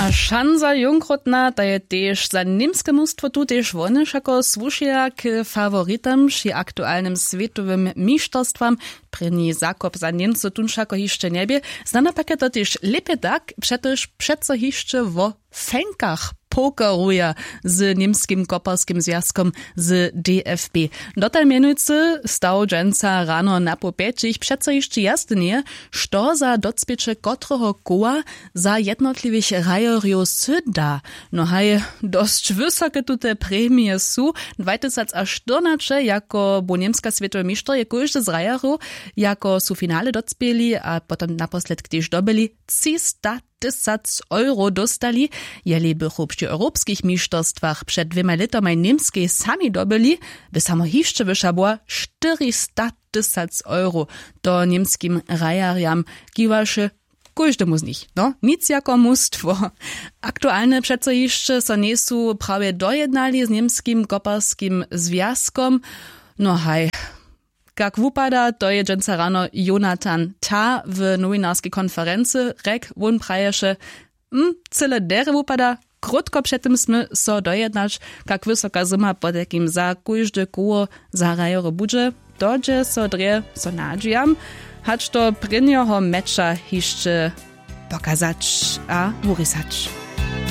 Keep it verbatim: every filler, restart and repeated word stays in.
A šansa jónkrótna, ta je tež za němske mustwo tu, tež wone wšako słušeja k faworitam při aktualnym swětowym mišterstwam. Prěni zakop za němcow tón wšako hišće njebě. Znano pak je to tež lěpje tak, přetož přeco hišće wo fenkach pokeruja z němskim koparskim zwjazkom, z dfb. Dotal mjenujcy staw dźensa rano na poł pjećich přeco hišće jasne njeje, što za docpěće kotreho koła za jednotliwych hrajerjow syda. No haj, dosć wysoke tute premije su. Dwajtysac a štyrnaće jako bu němska swětowy mišter je kóždy z hrajerjow jako su finale docpěli a potom naposledk tež dobyli třista tysac euro dóstali. Jeli bychu při europskich mišterstwach před dwěma lětomaj němskej sami dobyli, by samo hišće wyša była, štyrista tysac euro. To němskim hrajerjam kiwaše, kóždemu z nich, no nic jako mustwo. Aktualne přeco hišće so njejsu prawje dojednali z němskim koparskim zwjazkom. No haj, kak wupada, to je dźensa rano Jonathan Tah w nowinarskej konferency rjekł. Wón praješe, hm, cyle derje wupada. Krótko před tym smy so dojednać, kak wysoka suma potajkim za kóžde koło za hrajerjow budźe. To dźe so drje, so nadźijam, hač do prěnjeho meča hišće pokazać a wurěsać.